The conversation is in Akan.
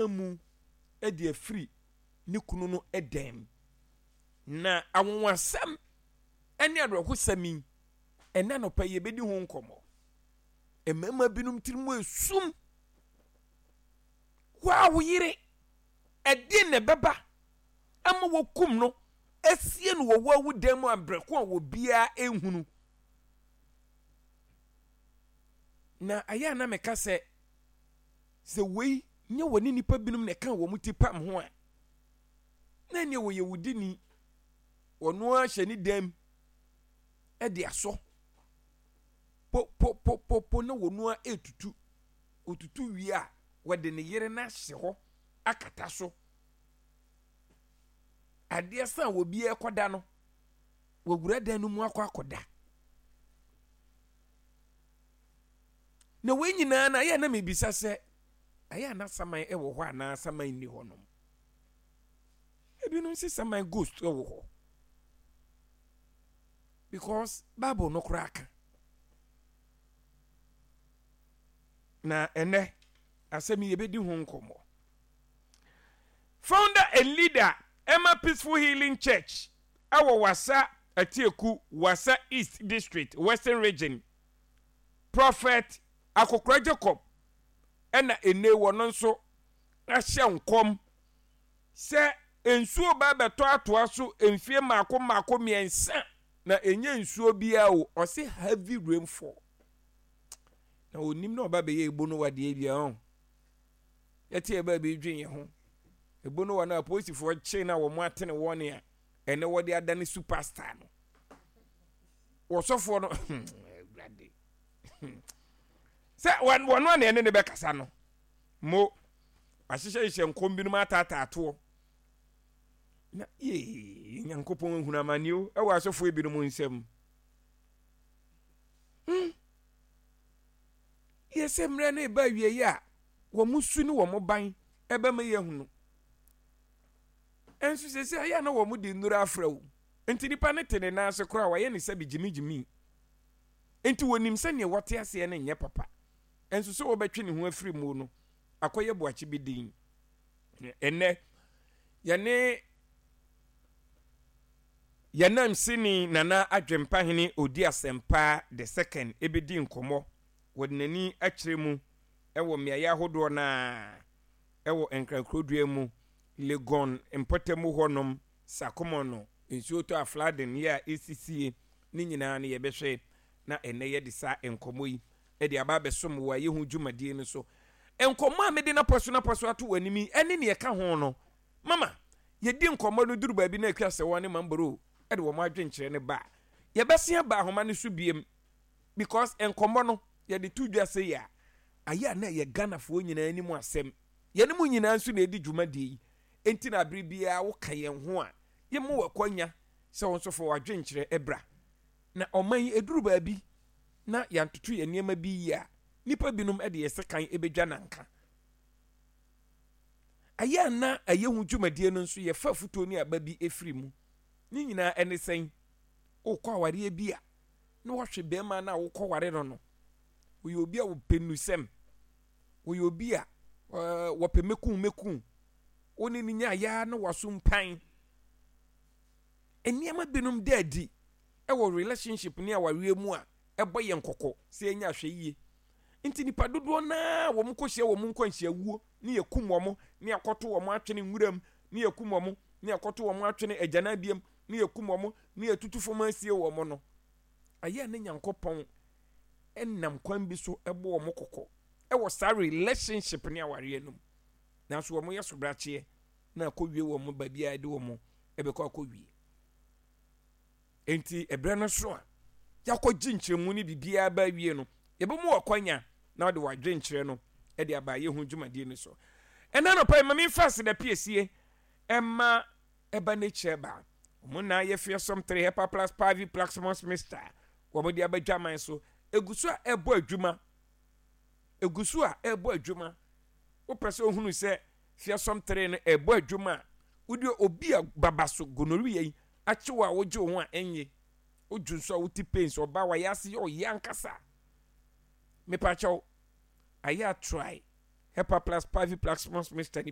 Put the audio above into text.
amu de afiri ne kunu no dan mu. Na anwonwasɛm ne awerɛhosɛm yi, ɛnɛ anɔpa yi yɛbɛdi ho nkɔmmɔ. Mmarima binom tirim esum. Wo a wo yere, ɛdeɛn na ɛbɛba ama wɔkum no asie no wɔ wo dan mu abrɛ ko a obiara nhunu? Na ayɛ a na meka sɛ, sɛ wei nyɛ wɔne nnipa binom na ɛka wɔn ti pam ho a, na ɛneɛ wɔyɛ wudini. Wɔno ara hyɛ ne dam de asɔ popopopopo na wɔno ara retutu. Ɔtutu wie a, wɔde ne yere no ahyɛ hɔ akata so. Adeɛ sa a obiara kɔda no, wɔwura dan no mu akɔ akɔda. Na wei nyinaa no, ayɛ a na mebisa sɛ, ayɛ a na saman wɔ hɔ anaa saman nni hɔnom? Ebinom se saman ghost wɔ hɔ. Because Bible no koraa ka. Na ɛnɛ, asɛm yi yɛbɛdi ho nkɔmmɔ. Founder and leader ɛma Peaceful Healing Church ɛwɔ Wassa Atieku, Wassa East District, Western Region, Prophet Akokora Jacob ɛna ene wɔno nso ahyɛ nkɔm sɛ nsuo ba bɛtɔ atoa so mfie mmaako mmaako mmiɛnsa na ɛnyɛ nsuo biara o, ɔse heavy rainfall. Na onim na ɔba bɛyɛ ebo no wadeɛ bia ɔn. Yɛte yɛ baabi dwen yɛ ho. Ebo no wa no apolisifoɔ kye na wɔn atene wɔn a ɛnɛ wɔde adane superstar no. Wɔsɔfoɔ no awurade. Sɛ wɔn a na ɛne ne bɛkasa no mo ahyehyɛhyehyɛ nkɔm binom ataataa toɔ. Na yee Nyankopɔn ehunu amane o ɛwɔ asɔfoɔ binom nsam. Yɛ sɛ mmerɛ no reba awieeɛ a, wɔn su ne wɔn ban ɛbɛma yɛahunu. Ɛnso sɛsɛ ayɛ a na wɔn de nnuro afra wo. Nti nipa no te ne nan ase koraa wɔayɛ ne sɛbi gyimigyimi. Nti wɔnim sɛ neɛ wɔte aseɛ no nyɛ papa. Ɛnso sɛ wɔbɛtwe ne ho afiri mu no, akɔyɛ boakye bi din. Ɛnnɛ, yɛne Yɛn nanmusini Nana Adwempahene Odi Asɛmpa the Second bɛdi nkɔmmɔ. Wɔde n'ani akyerɛ mu wɔ mmeaeɛ ahodoɔ no ara wɔ Nkran kurodua mu, Legon mpɔtamu hɔnom, Sakomono, nsuo tɔ a flooding yɛ a ɛsisie, ne nyinaa no yɛbɛhwɛ na ɛnnɛ yɛde saa nkɔmmɔ yi de aba abɛsom wɔ ayɛ ho dwumadie no so. Nkɔmmɔ a mede no apɔ so no apɔ so ato w'anim yi ne deɛ ɛka ho no, Mama yɛdi nkɔmmɔ no duru baabi na Akua Sewɔ ne Mamboro de wɔn adwenkyerɛ no ba a, yɛbɛsen aba ahoma no so biem because nkɔmmɔ no yɛde to dwa sei a, ayɛ a na ɛyɛ Ghanafoɔ nyinaa anim asɛm. Yɛne mo nyinaa nso na ɛdi dwumadie yi, enti na abere biara woka yɛn ho a, yɛma wo akwanya sɛ wo nso fa w'adwenkyerɛ bra. Na ɔman yi ɛduru baabi na yɛantoto yɛn nneɛma bi yie a, nnipa binom de yɛn sekan bɛdwa nanka. Ɛyɛ a na ɛyɛ ho dwumadie no nso yɛfa afutuo ne aba bi firi mu. Ne nyinaa ɛne sɛn? Wokɔ awareɛ bi a, na wahwɛ bɛrima no a wokɔware no no. Ɔyɛ obi a wɔpɛ nnusɛm. Ɔyɛ obi a wɔpɛ mɛku mɛku. Wo ne no nya yɛ na waso mpan. Nneɛma binom da adi wɔ relationship ne awareɛ mu a ɛbɔ yɛn kɔkɔ sɛ yɛnyɛ ahwɛyie. Nti nipa dodoɔ no ara wɔn kɔhyia wɔn nkwanhyiawuo ne yɛkum wɔn ne yɛakɔto wɔn atwene nwuram ne yɛkum wɔn ne yɛakɔto wɔn atwene agyananbea mu ne yɛkum wɔn ne yɛtutu fam asie wɔn no, ɛyɛ a na Nyankopɔn nam kwan bi so bɔ wɔn kɔkɔ wɔ saa relationship ne awareɛ no mu. Nanso wɔn yɛ sobrakyeɛ na akɔwie wɔn baabi a ɛde wɔn bɛkɔ akɔwie. Enti ɛberɛ no so a yɛakɔgye nkyerɛmu ne biribiara ba awie no, yɛbɛmu w'akwanya na wode w'adwenkyerɛ no de aba ayɛ ho dwumadie no so. Ɛna anɔpa yi, ma memfa aseda piesie ɛma ɛba nature ba. Wɔn na yɛ fearsome 3 hepa plus pavi plaxmos mister. Wɔn de aba dwaman so. Egu so a ɛbɔ adwuma. Egu so a ɛbɔ adwuma. Wopɛ sɛ ohunu sɛ fearsome 3 no ɛbɔ adwuma a, wode obi a baba so gonorrhea yi akye wo a wogye wo ho a ɛnye. Wodwo nso a wote pains, ɔbaa wayɛ ase yɛ ɔyɛ ankasa. Mepakyɛw, ayɛ a try Hepa plus Pavi plus Mos Mister no bi.